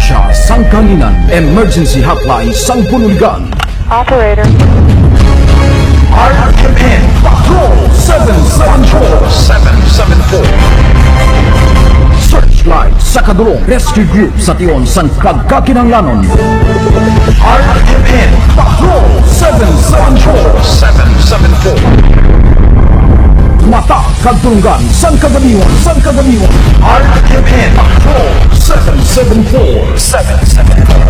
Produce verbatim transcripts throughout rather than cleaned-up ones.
Siya sang kahanginan, emergency hotline sang Bunuligan. Operator. R M N Patrol seven seven four. Seven seven four. Searchlight sa kadulong, rescue group sa tion sang pagkakinahanglanon. R M N Patrol seven seven four. Seven seven four. Mata kag dulonggan sang kagamion, sang kagamion. R M N Patrol seven seven four. Seven seven four.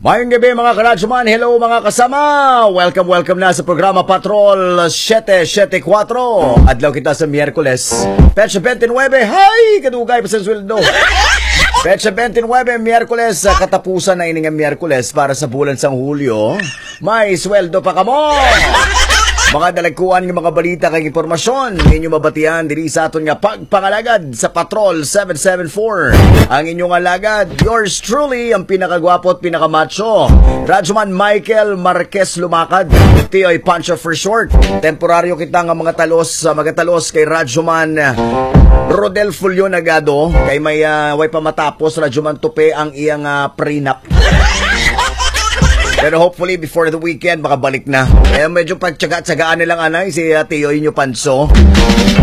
Mayong gabi, mga karadyoman. Hello, mga kasama. Welcome, welcome na sa programa Patrol siyete siyete kuwatro. Adlaw kita sa Miyerkules, petsa twenty-nine. Hay, kadugay pa sa sweldo. Petsa twenty-nine, Miyerkules. Sa katapusan na ini nga Miyerkules para sa bulan sang Hulyo, may sweldo pa kamo. Mga dalagkuan nga mga balita kag impormasyon ninyo mabatian diri sa aton nga pagpangalagad sa Patrol seven seven four. Ang inyong alagad, yours truly, ang pinakagwapo at pinakamacho, Radyoman Michael Marquez Lumakad, Tioy Pancho for short. Temporaryo kita nga mga talos, ah, magatalos kay Radyoman Rodel Fulio Nagado, kay may, ah, way pa matapos, Radyoman Tupe, ang iyang, ah, prenup. Pero hopefully, before the weekend, makabalik na. Kaya medyo pagtsaga-tsagaan nilang anay si, ah, Tio inyo Panso.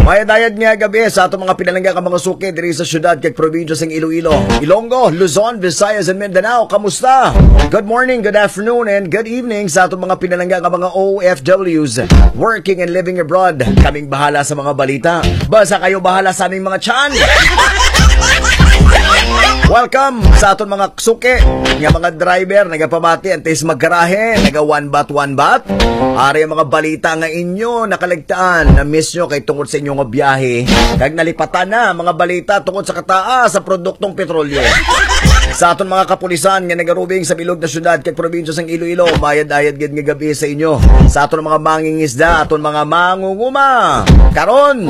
Mayad-ayad nga gabi sa atong mga pinalangga nga mga suki diri sa syudad kag probinsya sang Iloilo, Ilonggo, Luzon, Visayas, and Mindanao. Kamusta? Good morning, good afternoon, and good evening sa atong mga pinalangga nga mga O F Ws working and living abroad. Kaming bahala sa mga balita. Basta kayo bahala sa aming mga tiyan. Welcome sa aton mga suki nga mga driver, nagapamati antes maggarahe, naga one baht, one baht. Ari ang mga balita nga inyo nakaligtaan, na-miss nyo kay tungod sa inyo nga biyahe. Kag nalipatan na mga balita tungod sa kataas sa produktong petrolyo. Sa aton mga kapulisan nga nagarubing sa bilog na syudad kag probinsya sang Iloilo, mayad-ayad gid nga gabi sa inyo. Sa aton mga mangingisda, aton mga mangunguma. Karon,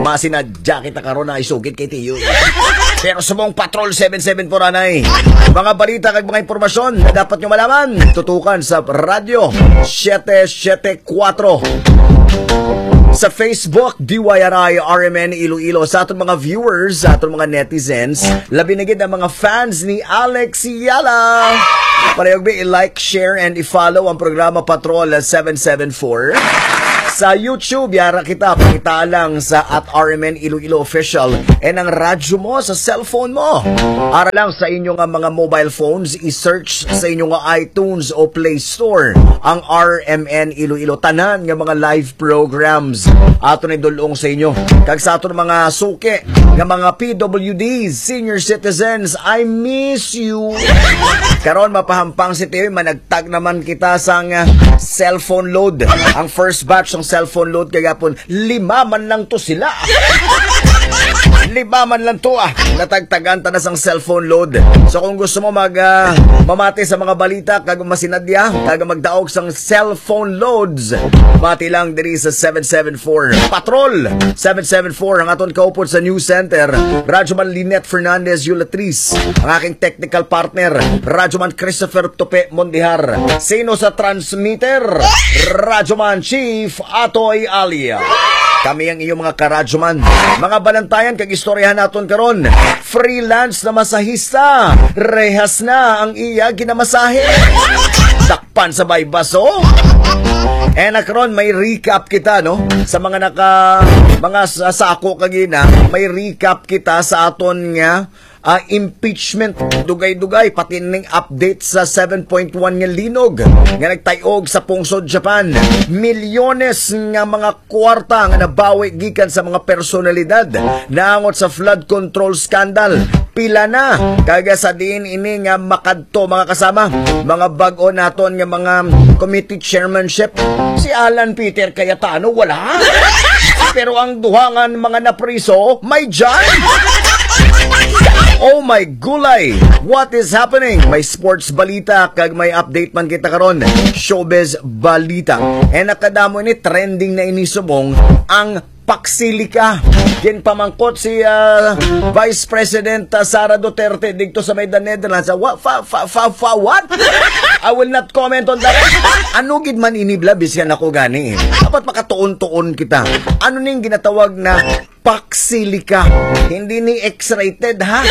masinadya kita karon na isugid kay Tiyo. Pero subong Patrol seven seven four anay. Mga balita kag mga impormasyon na dapat nyo malaman, tutukan sa Radyo siyete siyete kuwatro. Sa Facebook, D Y R I R M N Iloilo. Sa aton mga viewers, sa aton mga netizens, labi na gid ang mga fans ni Alex Yala. Palihog bi, i-like, share, and i-follow ang programa Patrol seven seven four. Sa YouTube, yara kita, pakita lang sa at R M N Iloilo Official. And ang radyo mo sa cellphone mo. Ara lang sa inyo nga mga mobile phones, i-search sa inyo nga iTunes o Play Store ang R M N Iloilo. Tanan nga mga live programs ato ni dulong sa inyo. Kag sa aton mga suki nga mga P W Ds, senior citizens, I miss you. Karon, mapahampang si Tiyoy, managtag naman kita sang, ah, cellphone load. Ang first batch ng cellphone load kagapon, lima man lang to sila. Lima man lang to, ah. Natagtagan ta na sang cellphone load. So kung gusto mo mag, ah, mamati sa mga balita, kag masinadya, kag magdaog sang cellphone loads, mati lang diri sa seven seven four. Patrol seven seven four ang aton kaupod sa News Center, Radyoman Lynette Fernandez Yulatris. Ang aking technical partner, Radyoman Christopher Tupe Mondihar. Sino sa transmitter? Radyoman Chief Atoy Alia. Kami ang iyong mga karadyoman. Mga balantayan kag istoryahan naton karon. Freelance na masahista. Rehas na ang iya ginamasahe. Dakpan sa baybaso. And karon may recap kita, no? Sa mga naka, mga sa-, sako kagina, may recap kita sa aton nga, ah, impeachment. Dugay-dugay, pati ning update sa seven point one nga linog nga nagtayog sa pungsod Japan. Milyones nga mga kwarta nga nabawi gikan sa mga personalidad naangot sa flood control scandal. Pila na? Kag sa diin ini nga makadto, mga kasama, mga bag-o naton nga mga committee chairmanship? Si Alan Peter Cayetano, wala. Pero ang duha nga mga napriso, may dyan. Oh my gulay! What is happening? May sports balita kag may update man kita karon. Showbiz balita. And nakadamo ini, trending na ini subong ang Paksilika. Ginpamangkot si, ah, Vice President, ah, Sara Duterte dito sa may The Netherlands. Ah, wa-, fa-, fa-, fa-, fa-, what? I will not comment on that. Ano gid man ini, bla, biskan ako gani. Dapat makatuon-tuon kita. Ano ning ginatawag na paksilika? Hindi ni X-rated, ha?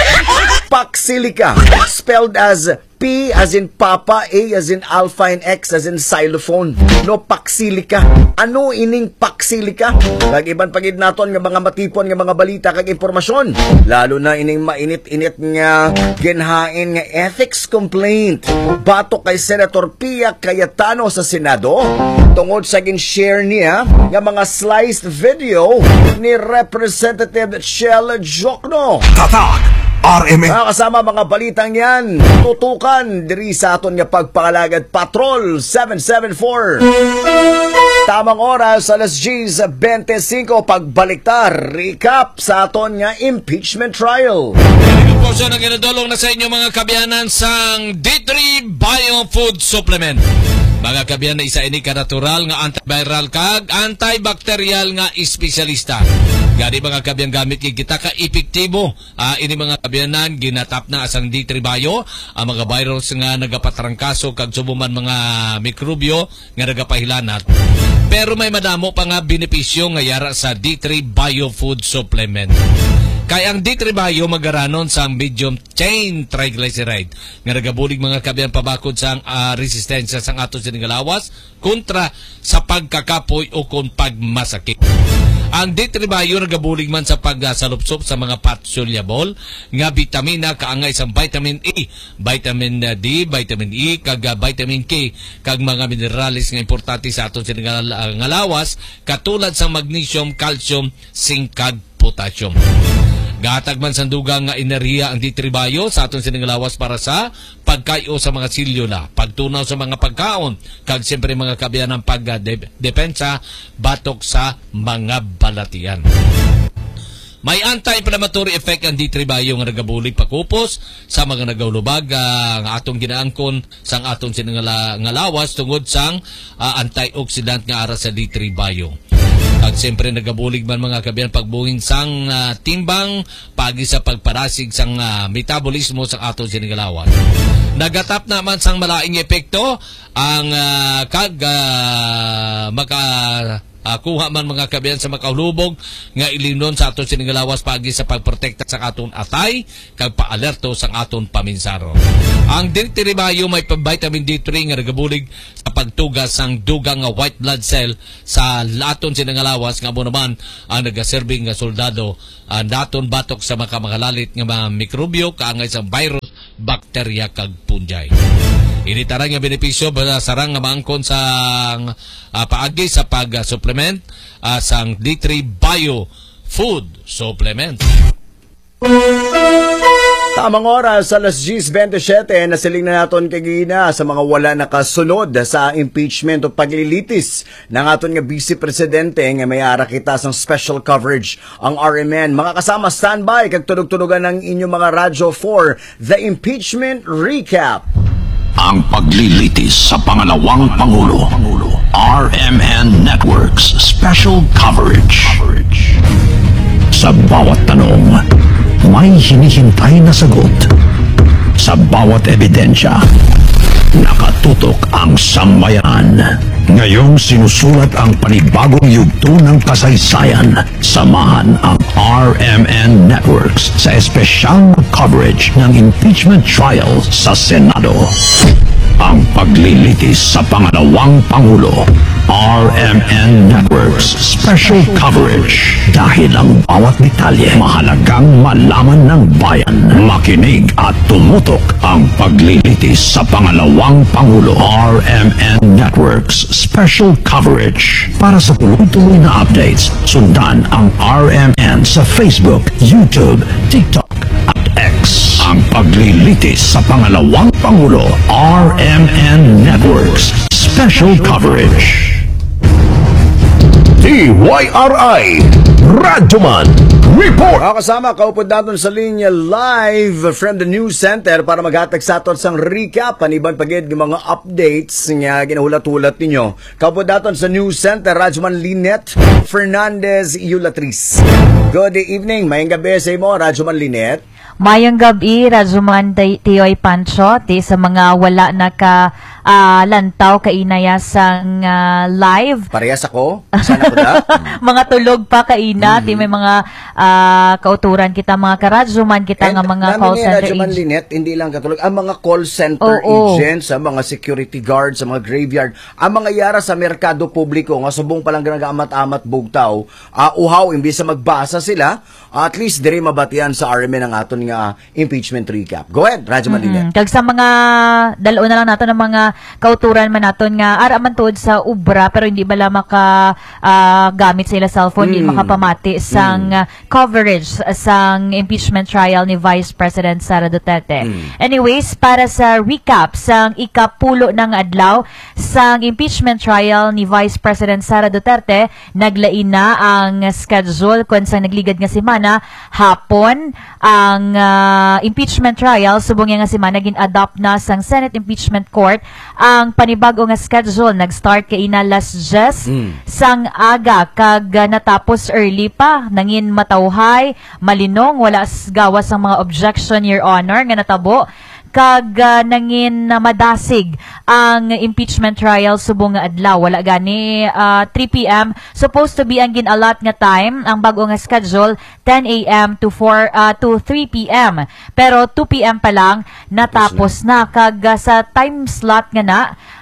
Paksilika. Spelled as P as in Papa, A as in Alpha, and X as in Xylophone. No, paksilika. Ano ining paksilika? Kag iban pa gid naton nga mga matipon nga mga balita kag impormasyon, lalo na ining mainit-init nga ginhain nga ethics complaint batok kay Senator Pia Cayetano sa Senado tungod sa gin-share niya nga mga sliced video ni Representative Shell Jokno. Tatak R M N. Mga kasama, mga balitang yan, tutukan diri sa aton nga pagpangalagad, Patrol seven seven four. Tamang oras, alas diyes bente-singko. Pagbalik ta, recap sa aton nga impeachment trial. Ito po siya na ginadulong na sa inyo, mga kaabyanan, sang D three Bio Food Supplement. Mga kaabyanan, isa ini ka natural nga antiviral kag antibacterial nga espesyalista. Gani, mga kaabyanan, gamit gid kita ka epektibo. Ah, ini, mga kaabyanan, ginatapna sang D three Bio ang mga virus nga nagapatrangkaso kag subong man mga mikrobyo nga nagapahilanat. Pero may madamo pa nga benepisyo nga yara sa D three Bio Food Supplement. Kay ang D three Bio magaranon sang medium chain triglyceride nga nagabulig, mga kaabyanan, pabakod sang, ah, resistensya sang aton sini nga lawas kontra sa pagkakapoy o kon pagmasakit. Ang D three Bio nagabulig man sa pagsalupsop sa mga fat-soluble nga bitamina kaangay sang vitamin A, vitamin D, vitamin E, kag, ah, vitamin K, kag mga minerales nga importante sa aton sini nga, nga lawas, katulad sang magnesium, calcium, zinc, kag potassium. Gahatag man sang dugang nga enerhiya ang D three Bio sa aton sini nga lawas para sa pagkay-o sa mga selyula, pagtunaw sa mga pagkaon, kag siyempre, mga kaabyanan, pag, ah, de-, depensa batok sa mga balatian. May anti-inflammatory effect ang D three Bio nga nagabulig pakupos sa mga nagahulubag, ah, nga atong ginaangkon sang aton sini nga la-, nga lawas tungod sang, ah, antioxidant nga ara sa D three Bio. Kag siyempre, nagabulig man, mga kaabyanan, pagbuhin sang, ah, timbang paagi sa pagparasig sang, ah, metabolismo sang aton sini nga lawas. Nagatapna man sang malain nga epekto ang, ah, kag, ah, maka ah, kuha man, mga kaabyanan, sa makahulubog nga ilimnon sa aton sini nga lawas paagi sa pagprotekta sa aton atay kag paalerto sa aton paminsaro. Ang D three Bio may pa-, vitamin D three nga nagabulig sa pagtuga sang dugang nga white blood cell sa aton sini nga lawas, nga amo naman ang nagaserbi nga soldado, ah, naton batok sa mga makalalit nga mga mikrobyo kaangay sa virus, bakterya, kag fungi. Ini tanan nga benepisyo ba sarang nga maangkon sang, ah, paagi sa pag, ah, supplement, ah, sang D three Bio Food Supplement. Tamang oras, alas diyes bente-siyete, nasiling na naton kagina sa mga wala nakasulod sa impeachment o paglilitis ng aton nga Vice Presidente nga may ara kita sang special coverage ang R M N. Mga kasama, standby kag tunog-tunogan ang inyong mga radyo for the impeachment recap. Ang paglilitis sa pangalawang pangulo, R M N Networks Special Coverage. Sa bawat tanong, may hinihintay na sagot. Sa bawat ebidensya, nakatutok ang sambayanan. Ngayong sinusulat ang panibagong yugto ng kasaysayan, samahan ang R M N Networks sa espesyal na coverage ng impeachment trial sa Senado. Ang paglilitis sa pangalawang pangulo, R M N Networks Special Coverage. Dahil ang bawat detalye mahalagang malaman ng bayan. Makinig at tumutok ang paglilitis sa pangalawang pangulo, R M N Networks Special Coverage. Para sa tuloy-tuloy na updates, sundan ang R M N sa Facebook, YouTube, TikTok, at X. Ang paglilitis sa pangalawang pangulo, R M N Networks Special Coverage. D Y R I, Radyoman, Report! Mga kasama, kaupod naton sa linya live from the news center para maghatag sa aton sang recap, paniban pa gid nga mga updates nga ginahulat-hulat ninyo. Kaupod naton sa news center, Radyoman Lynette Fernandez Yulatris. Good evening, mayong gabi sa imo, Radyoman Lynette. Mayong gabi, Radyoman Tay-, Tiyoy Pancho, ti sa mga wala naka, ah, lantaw kainaya sang, ah, live. Parehas ako. Sana ko da. Mga tulog pa kaina, ti may mga, ah, kauturan kita, mga karadyoman kita. And nga mga nami call ni center Radyoman ag-, Lynette, hindi lang katulog, ang mga call center Oo. agents, ang mga security guards, ang mga graveyard, ang mga yara sa merkado publiko nga subong pa lang nag-amat-amat bugtaw, ah, uhaw, imbis na magbasa sila, at least diri mabatian sa R M N ang aton nga impeachment recap. Go ahead, Radyoman Mm-mm. Lynette. Kag sa mga dal-o na lang naton ang mga kauturan man naton nga ara man tuod sa ubra pero hindi bala maka, ah, gamit sa ila cellphone, hindi Mm. makapamati sang, Mm. ah, coverage sang impeachment trial ni Vice President Sara Duterte. Mm. Anyways, para sa recap sang ikapulo na nga adlaw sang impeachment trial ni Vice President Sara Duterte, naglain na ang schedule kon sa nagligad nga semana, hapon ang, ah, impeachment trial. Subong niya nga semana, gin-adopt na sang Senate Impeachment Court ang panibag-o nga schedule. Nag-start kaina alas diyes Mm. sang aga kag, ah, natapos early pa. Nangin matawhay, malinong, wala s-, gawas ang mga objection, Your Honor, nga natabo. Kag, ah, nangin na madasig ang impeachment trial subong nga adlaw. Wala gani, ah, three p m. Supposed to be ang gin-allot nga time, ang bag-o nga schedule, ten a m to four, ah, to three p m. Pero two p m pa lang, natapos na. Kag, ah, sa time slot nga na,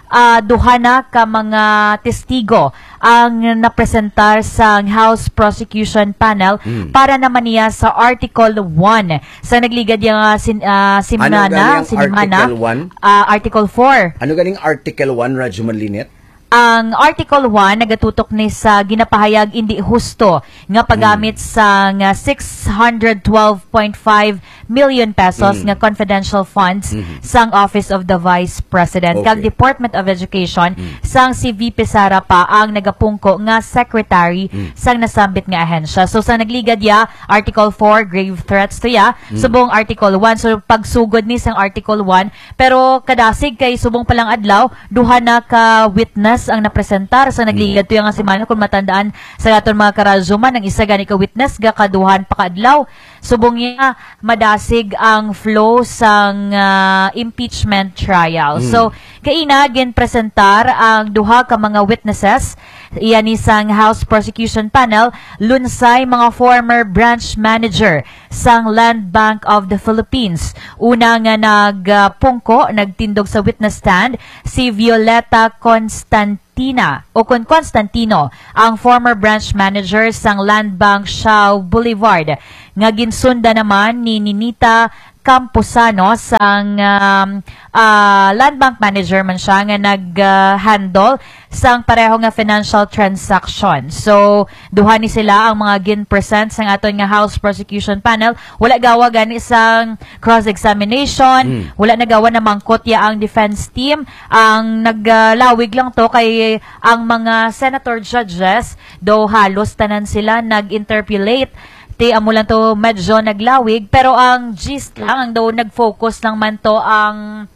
ah, duha na ka mga testigo ang napresentar sa House Prosecution Panel Mm. para naman niya sa Article one. Sa nagligad niya nga sin-, ah, Ano simana, gani ang sinimana, Article one? ah, Article four. Ano ganing Article one, Radyoman Lynette? Ang Article one nagatutok ni sa ginapahayag indi husto nga paggamit Mm. sa nga six hundred twelve point five million pesos Mm. nga confidential funds Mhm. sang Office of the Vice President kag Okay. Department of Education Mm. sang si V P Sara pa ang nagapungko nga secretary Mm. sang nasambit nga ahensya. So, sa nagligad ya, Article four, grave threats to ya. Mm. Subong Article one. So, pagsugod ni sang Article one, pero kadasig kay subong pa lang adlaw, duha na ka witness ang napresentar sa nagligad Mm. to ya nga semana. Kung matandaan sa aton mga karadyoman, ang isa gani ka witness gakaduhan pa ka adlaw. Subong niya, madasig ang flow sang, ah, impeachment trial. Mm. So, kaina, ginpresentar ang duha ka mga witnesses, iya ni sang House Prosecution Panel, lunsay mga former branch manager sang Land Bank of the Philippines. Una nga nagpungko, nagtindog sa witness stand, si Violeta Constant-, Tina o kon Constantino, ang former branch manager sang Land Bank Shaw Boulevard, nga ginsunda naman ni Ninita Camposano sang, um, ah, Land Bank manager man siya nga nag, ah, handle sang pareho nga financial transaction. So, duha ni sila ang mga gin-present sang aton nga House Prosecution Panel. Wala gawa gani sang cross-examination, Mm. wala na gawa na mangkot ya ang defense team. Ang naglawig lang to kay ang mga senator judges, daw halos tanan sila nag-interpolate. Ti amo lang to medyo naglawig, pero ang gist lang, ang daw nag-focus lang man to ang,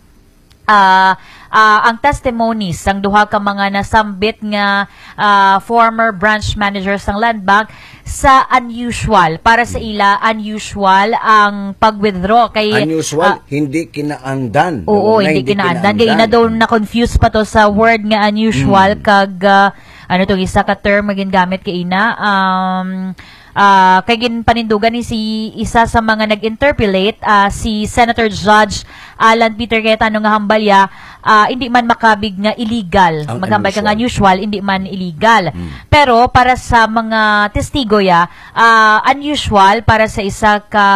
ah, ah, ang testimonies sang duha ka mga nasambit nga, ah, former branch manager sang Land Bank sa unusual. Para sa Hmm. ila, unusual ang pag-withdraw. Kay, Unusual, ah, hindi kinaandan. Oo, No, na hindi hindi kinaandan. Kay kinaandan. ina daw Hmm. na-confuse pa to sa word nga unusual Hmm. kag, ah, ano to, isa ka term nga gingamit kay ina, um, ah, kay ginpanindugan ni si isa sa mga nag-interpolate, ah, si Senator Judge Alan Peter Cayetano nga hambal ya, ah, hindi man makabig nga illegal. Ang Maghambal ka nga unusual. unusual, hindi man illegal. Hmm. Pero para sa mga testigo ya, ah, unusual para sa isa ka,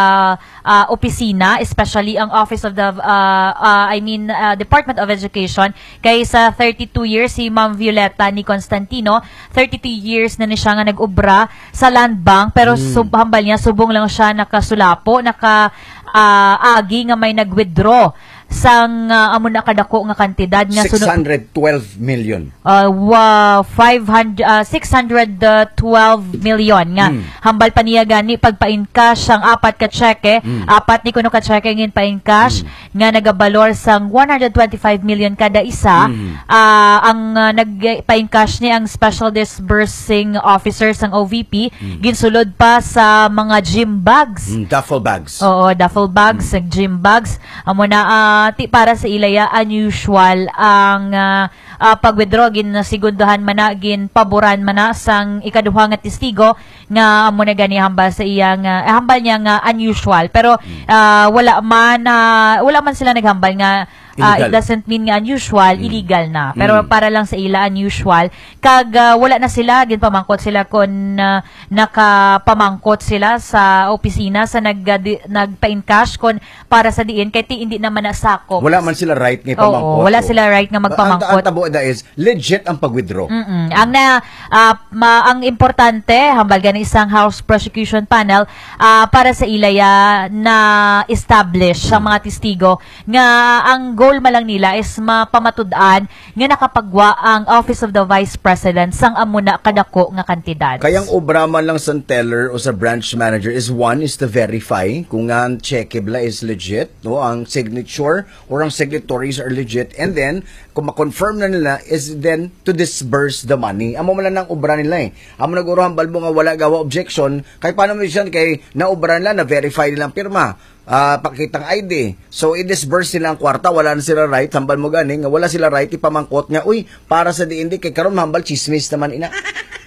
ah, opisina, especially ang Office of the, ah, ah, I mean, ah, Department of Education, kay sa thirty-two years si Ma'am Violeta ni Constantino, thirty-two years na ni siya nga nag-obra sa Land Bank, pero Hmm. sub-, hambal niya, subong lang siya nakasulapo, naka, ah, agi nga may nag-withdraw sang, ah, amo na kadako nga kantidad nga suno-, six hundred twelve million. Ah, wa-, five hundred, ah, six hundred twelve million nga Hmm. hambal pa niya gani pagpa-encash ang apat ka tseke, Hmm. apat ni kuno ka tseke nga ginpa-encash Hmm. nga nagabalor sang one hundred twenty-five million kada isa. Hmm. Ah, ang, ah, nagpa-encash ni ang special disbursing officer sang O V P, Hmm. ginsulod pa sa mga gym bags. Hmm, duffel bags. Oo, duffel bags, Hmm. gym bags. Amo na, ah, ti para sa ila ya unusual ang, ah, ah, pag-withdraw. Ginasigundohan man na, ginpaboran man na sang ikaduha nga testigo nga amo na gani hambal sa iya nga, eh, hambal niya nga unusual. Pero, Mm. ah, wala man, ah, wala man sila naghambal nga, ah, it Illegal. doesn't mean nga unusual, Mm. illegal na. Pero Mm. para lang sa ila, unusual. Kag, ah, wala na sila, ginpamangkot sila kung, ah, nakapamangkot sila sa opisina sa nag-, ah, di-, nagpa-encash kung para sa diin, kay ti hindi naman nasakop. Wala man sila right nga Oo, ipamangkot, wala oh. sila right nga Ang, magpamangkot. ang tabo na is legit ang pag-withdraw. Mm-mm. Ang na, ah, ma-, ang importante, hambal gani sang House Prosecution Panel, ah, para sa ila ya na-establish ang Mm. mga testigo nga ang goal man lang nila is mapamatud-an nga nakapagwa ang Office of the Vice President sang amo na kadako nga kantidad. Kay ang obra man lang sa teller o sa branch manager is, one, is to verify kung nga ang cheque bala is legit, no? Ang signature or ang signatories are legit, and then kung ma-confirm na nila is then to disburse the money. Amo man lang ang obra nila, eh. Amo na guro hambal mo nga wala gawa objection, kay paano mo siya, kay naobra nila, na-verify nila ang pirma, ah, pakitang I D. So, i-disburse nila ang kwarta, wala na sila right, hambal mo gani, nga wala sila right ipamangkot nga, "Uy, para sa diin di, kay karon mahambal chismis naman ina."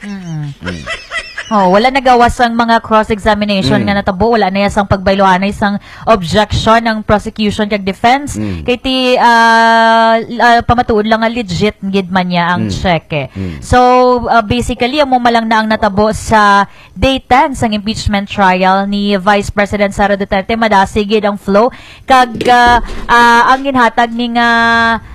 Mm. Mm. Oh, wala nagawas ang mga cross-examination Mm. nga natabo, wala na ya sang pagbaylohanay sang objection ang prosecution kag defense. Mm. Kay ti, ah, l-, ah, pamatuod lang nga legit gid man niya ang Mm. cheque. Mm. So, ah, basically, amo man lang na ang natabo sa day ten sang impeachment trial ni Vice President Sara Duterte. Madasig gid ang flow kag, ah, ah, ang ginhatag ni nga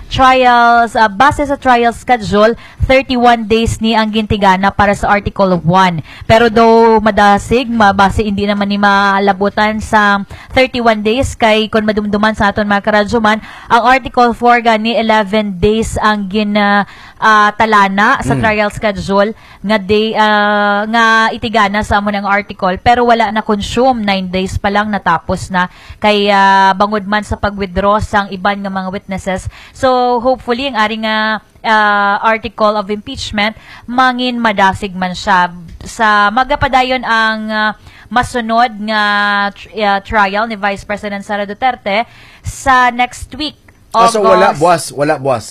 trials, ah, base sa trial schedule, thirty-one days ni ang gintigana para sa Article one. Pero daw madasig, mabase hindi naman ni malabutan sa thirty-one days, kay kon madumduman sa aton mga karadyoman, ang Article four gani eleven days ang gin, ah, ah, talana sa Mm. trial schedule nga day, ah, nga itigana sa amo nang article, pero wala na consume, nine days pa lang natapos na, kay, ah, bangod man sa pag-withdraw sang iban nga mga witnesses. So, hopefully, ang ari nga, ah, article of impeachment, mangin madasig man siya. Sa magapadayon ang, ah, masunod nga tr-, ah, trial ni Vice President Sara Duterte sa next week, Ah, so wala, August. Buwas, wala, buwas.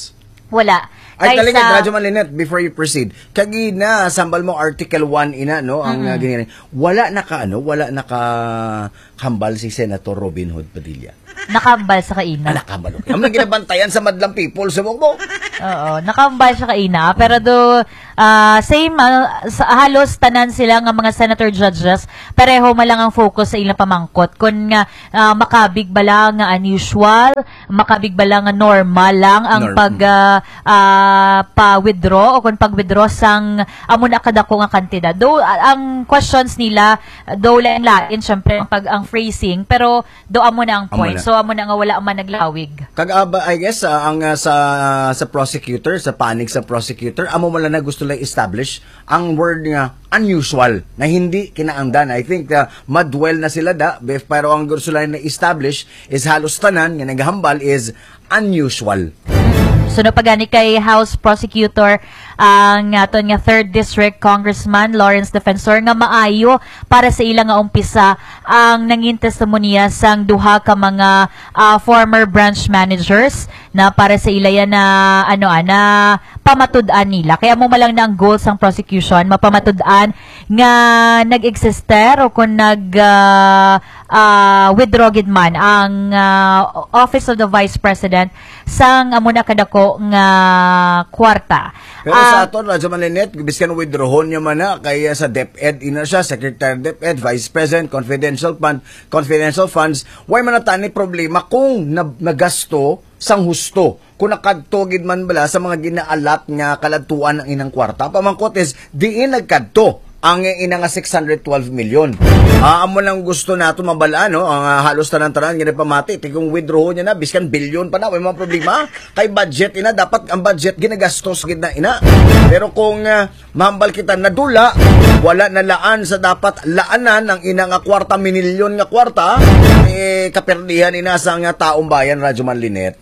Wala. Ay, Kay talaga, sa Radyo Malinet, before you proceed, kagina, sambal mo, Article one, ina, no, ang, Mm-mm. ah, giniri-, wala naka, ano, wala naka hambal si Senator Robin Hood Padilla. Nakahambal sa kaina. Ah, nakahambal, okay. Ang ginabantayan sa madlang people, subok mo. Oo, nakahambal sa kaina. Pero do, ah, same, ah, sa, halos tanan sila nga mga senator judges, pareho man lang ang focus sa ilang pamangkot. Kung nga, ah, makabig bala nga unusual, makabig bala nga normal lang ang Norm-, pag, mm. ah, ah, pa-withdraw o kung pag-withdraw sang amo na kadako nga kantidad. Though, ah, ang questions nila, though lain-lain, syempre, ang pag, ang phrasing, pero do amo na ang Amo point. na. So, amo na nga wala man naglawig. Kag, ah, ba, I guess, ah, ang, ah, sa, sa prosecutor, sa panig sa prosecutor, amo man lang na gusto lang establish ang word nga unusual, na hindi kinaangdan. I think, ah, madwell na sila da, bef-, pero ang gusto lang na establish is halos tanan nga naghambal is unusual. Suno pa gani kay House Prosecutor ang aton nga Third District Congressman Lawrence Defensor nga maayo para sa ila nga umpisa ang nangin testimonya sang duha ka mga, ah, former branch managers na para sa ila yan na, ano, ah, na pamatud-an nila. Kaya mo malang na ang goal sang prosecution, mapamatud-an nga nag-exister o kung nag, ah, ah, withdraw gid man ang, ah, Office of the Vice President sang amo na kadako nga kwarta. Pero sa Ah, aton, Radyo Malinet, biskan withdrawon niya man na, kaya sa DepEd, ina siya, Secretary DepEd, Vice President, confidential fund, confidential funds, way man na tani problema kung na-, nagasto sang husto. Kung nakadto gid man bala sa mga ginaalat nga kaladtuan ang inang kwarta, pamangkot is, diin nagkadto? Ang ina nga six hundred twelve million. Ah, amo lang gusto nato mabal-an, no? Ang, ah, halos tanan-tanan nga nagpamati, ti kung withdraw niya na, biskan bilyon pa na, may mga problema. Kay budget ina, dapat ang budget ginagastos gid na ina. Pero kung, ah, mahambal kita nadula, wala na laan sa dapat laanan ang ina nga kwarta, minilyon nga kwarta, eh, kaperdihan ina sa nga taong bayan, Radyo Man Linet.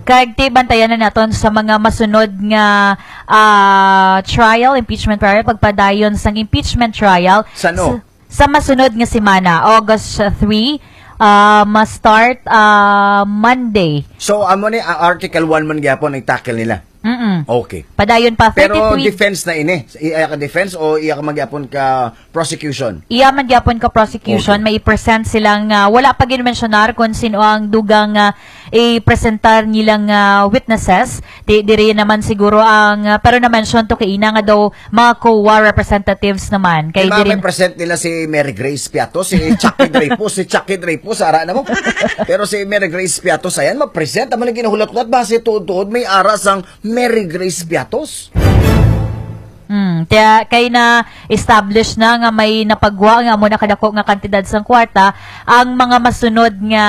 Kag ti bantayan na naton sa mga masunod nga ah, trial, impeachment trial, pagpadayon sang impeachment trial. Sa no? Sa, sa masunod nga semana, August three, ah, ma-start ah, Monday. So, amo ni, ah, Article one man gyapon ang tackle nila. Mm-mm. Okay. Padayon pa, Pero thirty-three. Defense na ini. Iya ka defense o iya ka magyapon ka prosecution? Iya man gyapon ka prosecution, Okay. May i-present silang, ah, wala pa ginmensyonar kung sino ang dugang, ah, i-presentar nilang, ah, witnesses. Di, diri naman siguro ang, ah, pero na-mention to kay ina nga daw mga COA representatives naman. Kay Kay mga diri may present nila si Mary Grace Piatos, si Chucky Dreyfus, si Chucky Dreyfus, ara na mo. Pero si Mary Grace Piatos, ayan, mag-present. Amo na ginahulat-hulat ba si tuod-tuod may ara sang Mary Grace Piatos? Hmm, kaya kay na establish na nga may napagwa nga amo na kadako nga kantidad sang kwarta, ang mga masunod nga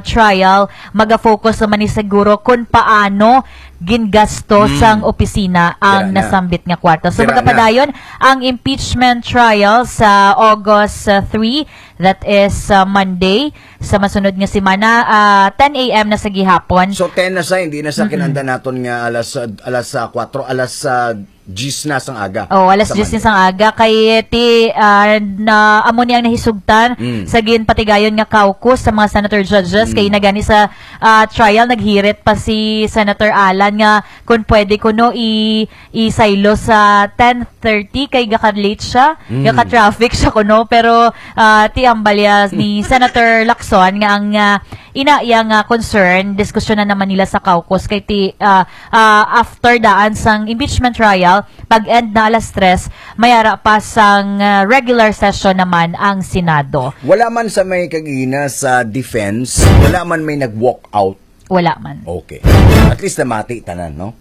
trial maga-focus naman ni siguro kung paano gingasto Hmm. sang opisina ang Dira na. Nasambit nga kwarta. So Dira na. Magapadayon ang impeachment trial sa August uh, three, that is uh, Monday, sa masunod nga semana, uh, ten a.m. na sa gihapon. So ten na sa, hindi na sa kinanda naton nga alas alas sa kuwatro, alas sa diyes na sang aga. Oh, alas Sa diyes Monday. Sang aga kay ti ah, na amo ni ang nahisugtan Mm. sa ginpatigayon nga caucus sa mga senator judges. Mm. Kay nagani sa ah, trial naghirit pa si Senator Alan nga kung pwede kuno i isaylo sa ten thirty kay gaka-late siya, Mm. gaka-traffic siya kuno, pero ah, ti ang balya ni Senator Lacson nga ang ah, ina iya nga concern, diskusyonan naman nila sa caucus kay ti ah, ah, after daan sang impeachment trial, pag-end na alas tres, may ara pa sang ah, regular session naman ang Senado. Wala man sa may kagina sa defense, wala man may nag-walk out. Wala man. Okay. At least namati tanan, no?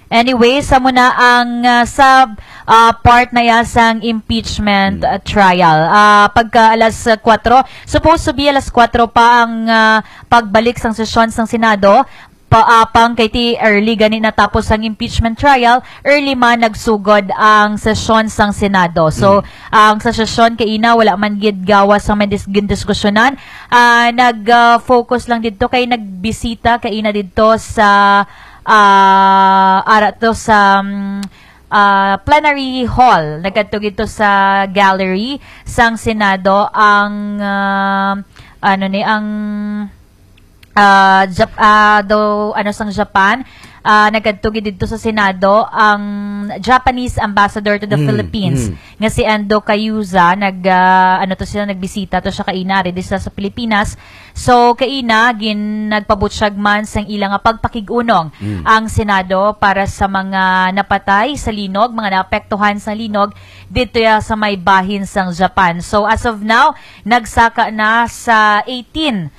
Anyway, sa muna ang ah, sa ah, part na ya sang impeachment ah, trial. Ah, pagka alas ah, kuwatro, supposed to be alas kuwatro pa ang ah, pagbalik sang sesyon sang Senado. Pa, apang kay ti early gani natapos ang impeachment trial, early man nagsugod ang sesyon sang Senado. So, ang sa sesyon kay ina wala man gid gawas sa may dis- gindiskusyonan. Ah, nag ah, focus lang didto kay nagbisita kay ina didto sa ah, ara to sa mm, ah, plenary hall. Nagkadto gid to sa gallery sang Senado ang ah, ano ni ang ah, Jap- ah, do ano sang Japan. Ah, nagkadto gid didto sa Senado ang Japanese ambassador to the Mm, Philippines mm. Nga si Ando Cayuza. Nag ah, ano to sila, nagbisita to siya kaina ari di sa, sa Pilipinas. So kaina gin nagpabutyag man sang ila nga pagpakig-unong ang Senado para sa mga napatay sa linog, mga naapektuhan sa linog dito ya sa may bahin sang Japan. So as of now, nagsaka na sa eighteen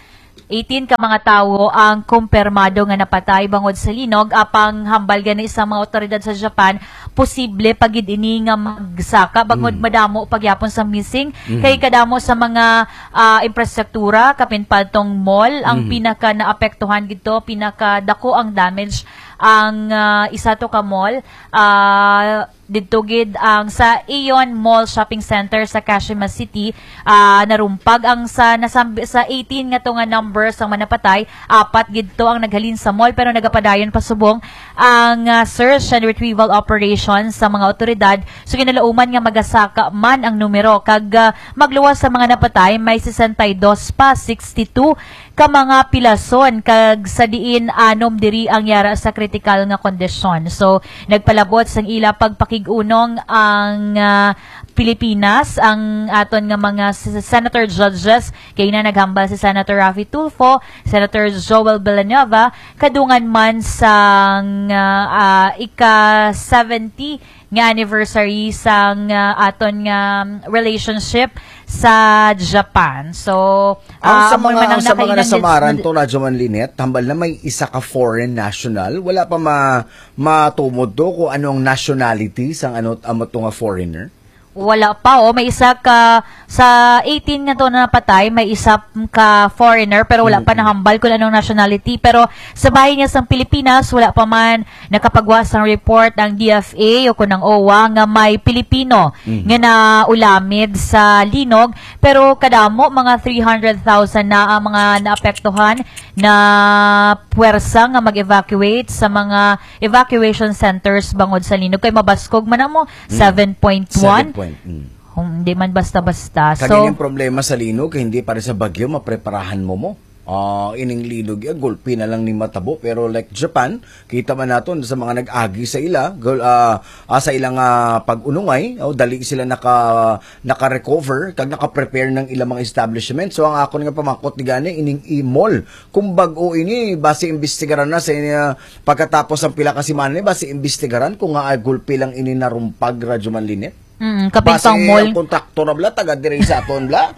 eighteen ka mga tawo ang kumpirmado nga napatay bangod sa linog, apang hambal gani sa mga awtoridad sa Japan, posible pa gid ini nga magsaka bangod madamo pa gyapon sa missing. Kay kadamo sa mga ah, infrastruktura, kapin paltong mall ang pinaka naapektuhan gidto, pinaka dako ang damage ang ah, isa to ka mall. Ah, didto gid ang sa Aeon Mall Shopping Center sa Kashima City, ah, narumpag ang sa nasambi sa eighteen nga to nga number sang manapatay, apat gid to ang naghalin sa mall pero nagapadayon pa subong ang ah, search and retrieval operation sa mga otoridad. So ginalauman nga magasaka man ang numero kag ah, magluwas sa mga napatay may sesenta y dos pa, sixty-two ka mga pilason kag sa diin anom diri ang yara sa kritikal nga kondisyon. So, nagpalabot sang ila pagpakig-unong ang ah, Pilipinas, ang aton nga mga s- senator judges, kay na naghambal si Senator Raffy Tulfo, Senator Joel Villanueva, kadungan man sang ah, ah, ika seventy nga anniversary sang ah, aton nga relationship sa Japan. So, Ang ah, sa amo mga, man ang ang sa mga nakainan din nasamaran sa to, Radyo Man Linet, hambal na may isa ka foreign national, wala pa ma-, matumod to kung ano ang nationality sang ano, amo to nga foreigner? Wala pa, oh. May isa ka, sa eighteen nga to na napatay, may isa ka foreigner, pero wala pa Mm-mm. nahambal kung anong nationality. Pero sa bahin niya sang Pilipinas, wala pa man nakapagwa sang report ang D F A o kung ang owa nga may Pilipino Mhm. nga naulamid sa linog. Pero kadamo, mga three hundred thousand na ang mga naapektuhan na puwersa nga mag-evacuate sa mga evacuation centers bangod sa linog. Kay mabaskog man amo, Mm. seven point one. Seven point, mm. Hmm, hindi man basta-basta. Kag So, ining problema sa linog, kay hindi pa rin sa bagyo, mapreparahan mo mo. Ah, ining linog, eh, gulpi na lang ni matabo. Pero like Japan, kita man naton sa mga nag-agi sa ila, gul-, ah, ah, sa ilang, ah, pag-unungay, oh, dali sila naka-, naka-recover, kag naka-prepare ng ilang mga establishment. So, ang akon nga pamangkot ni gani, ining i-mall. Kung bag-o ini, basi imbestigaran na sa inya, pagkatapos ang pila ka semana ni, basi imbestigaran kung nga ay gulpi lang ini narumpag, Radyo Man Linet. Mm, kapin Basi pang mall. ang kontraktor na bla, taga diri sa aton bla.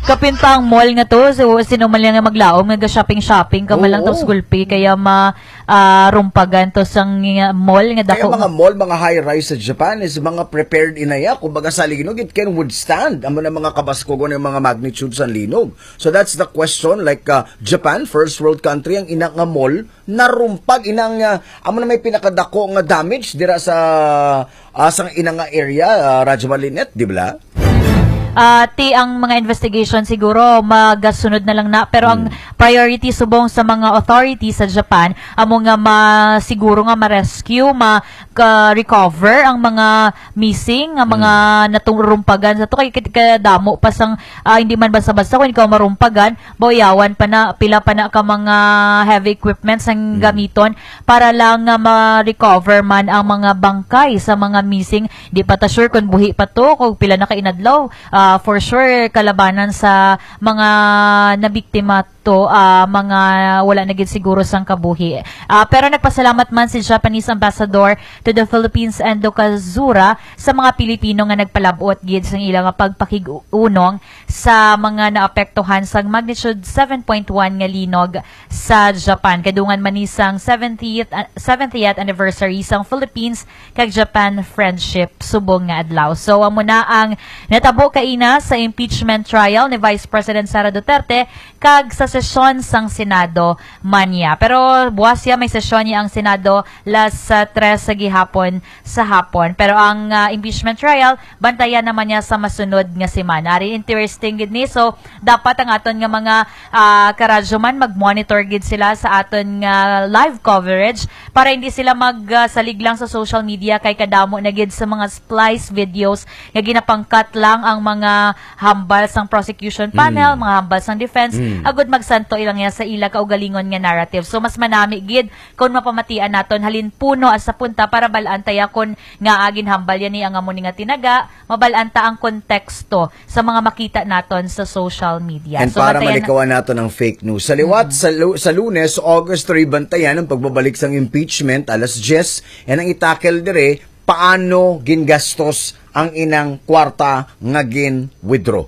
Kapin pang mall nga to, so, sino man lang nga maglaom, nga shopping-shopping ka man lang Oo. tapos gulpi, kaya ma-, ah, rumpagan to sang, ah, mall nga Kaya dako. mga mall, mga high-rise sa Japan is mga prepared inaya. Kumbaga sa linog, it can withstand. Amo na mga kabaskogon ng mga magnitude sa linog. So that's the question. Like, uh, Japan, first world country, ang ina nga mall, narumpag, inang, uh, amo na may pinakadako nga damage dira sa, uh, sa ina nga area, uh, Radyo Malinet, di ba? Ah, ti ang mga investigation siguro magasunod na lang na, pero ang Hmm. priority subong sa mga authorities sa Japan amo nga ma-, siguro nga ma-rescue, ma-, ka-recover ang mga missing, nga mga Hmm. naturumpagan sa to. Kay kit-, kadamo pa sang, ah, hindi man basta-basta kung ikaw marumpagan, bauyawan pa na, pila pa na ka mga heavy equipments ang Mm. gamiton para lang nga ma-recover man ang mga bangkay sa mga missing. Di pa ta sure kung buhi pa to, kung pila na ka inadlaw. Ah, for sure, kalabanan sa mga nabiktima to, ah, mga wala na gid siguro sang kabuhi. Ah, pero nagpasalamat man si Japanese Ambassador to the Philippines, Endo Kazura, sa mga Pilipino nga nagpalabot gid sang ila nga pagpakig-unong sa mga naapektuhan sang magnitude seven point one nga linog sa Japan. Kadungan man ni sang seventieth, ah, seventieth anniversary sang Philippines kag Japan friendship subong nga adlaw. So, amo na ang natabo kaina sa impeachment trial ni Vice President Sara Duterte kag sa sesyon sang Senado man niya. Pero buwas siya may sesyon niya ang Senado las, ah, tres sa gihapon sa hapon. Pero ang, ah, impeachment trial, bantayan naman niya sa masunod nga semana. Ari interesting gid ni. So, dapat ang aton nga mga, ah, karadyoman mag-monitor gid sila sa aton nga live coverage para hindi sila mag, ah, salig lang sa social media kay kadamo na gid sa mga splice videos nga ginapangkat lang ang mga hambal sang prosecution panel, Mm. mga hambal sang defense, Mm. agud magsanto ilang ya sa ila kaugalingon nga narrative. So, mas manami gid kung mapamatian naton halin puno sa punta para bal-an ta ya kung nga ginhambal ya ni ang amo ni nga tinaga, mabal-an ta ang konteksto sa mga makita naton sa social media. And So, para bantayan malikawan naton ang fake news. Sa liwat, Mm. sa Lu-, sa Lunes, August three, bantayan ang pagbabalik sang impeachment, alas diyes, and ang itakel dire, paano gingastos ang inang kwarta nga gin-withdraw.